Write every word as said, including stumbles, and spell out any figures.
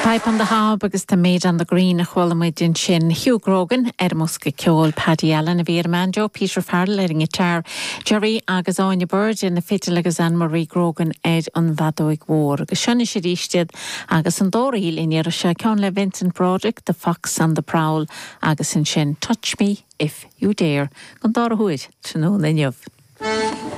Pipe on the Hob agus The Maid on the Green a chuala muid ansin Hugh Grogan ar an mbosca ceoil Paddy Allen a bhí ar an mbanjo, Peter Farrell ar an ngiotár, Jerry agus Áine Bird ar na fidil agus Anne-Marie Grogan ar an bhfeadóig mhór. Agus seo arís iad agus an dá ríl in se ceann le Vincent Broderick, The Fox on the Prowl agus ansin Touch Me If You Dare, an dara huair tráthnóna inniu.